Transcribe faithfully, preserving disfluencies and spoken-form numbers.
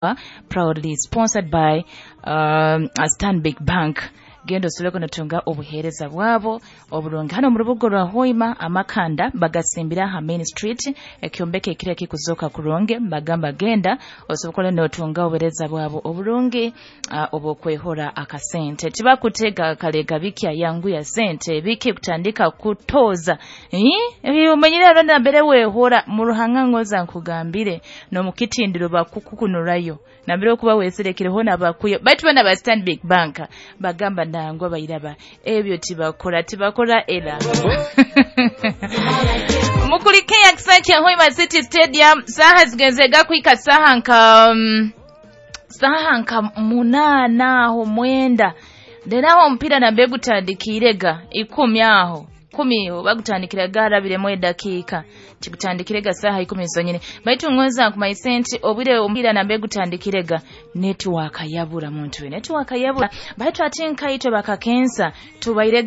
Proudly sponsored by um, Stanbic Bank. Genda osobole notunga obuheereza bwabo oburungi hano mu rubuga rwa Hoima. Amakanda bagasimbira aha Main Street, ekyombeko ekiro ekikuzoka kurungi. Bagamba genda osobole notunga obuheereza bwabo oburungi uh, obwokwehora akasente. Tibakutega kalega bikya yanguya sente biki kutandika kutoza eh omanyire ronda mbere wehora mu ruhanga. Ngoza nkugambire nomukitindiro bakukukunurayo nambere okuba weserekereho nabakuyo. Baitu bana ba Stanbic Bank bagamba nangwa bairaba ebyo tibakora, tibakora. Era mukulike yakisa kya Hoima City Stadium. Saha zigenze gakwika saha nka um, saha nka munana aho mwenda. Rero aho omupiira nambe gutandikirega ikumi, aho kumi bagutandikira garabiremu edakiika kigutandikirega saha ikumi zonyine. Baitu ngoza nkumaise nti obwire omupiira nambe gutandikirega, network yabura muntu we, network yabura. Baitu ate nkaitwe bakakensa tubaire.